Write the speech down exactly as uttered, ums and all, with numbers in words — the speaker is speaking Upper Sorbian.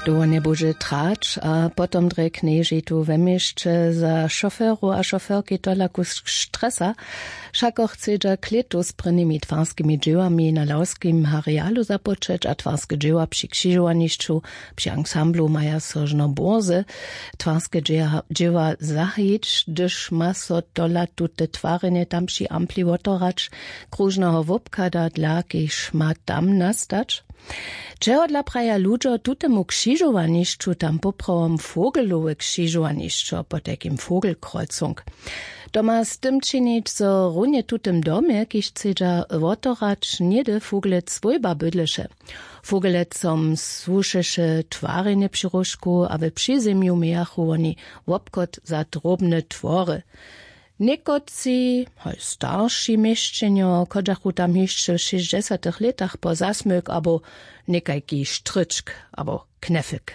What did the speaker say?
To njebudźe trać a potom drje knježi tu we měsće za šoferow a šoferki tola kusk stresa. Wšako chcedźa klětu z prěnimi twarskimi dźěłami na lawskim harialu započeć a twarske dźěła při křižowanišću při ansamblu maja sožno burze twarske dźěła zahajić hdyž ma so tola tute twarjenje tam při ampli wotorać króžneho wobchada dla kiž ma tam nastać. Čehodla praja ludźo tutemu křižowanišću tam poprawom vogelowe křižowanišćo potajkim vogelkrolcung? To ma z tym činić zo runje tutym domje kiž chcedźa wotorać něhdy vogelec swójba bydleše. Vogelecom słušeše twarjenje při róžku a we přizemju mějachu woni wobchod za drobne twory. Někotři hoj starši měšćenjo chodźachu tam hišće w šěsćdźesatych lětach po zasmyk abo někajki štryčk abo knefik.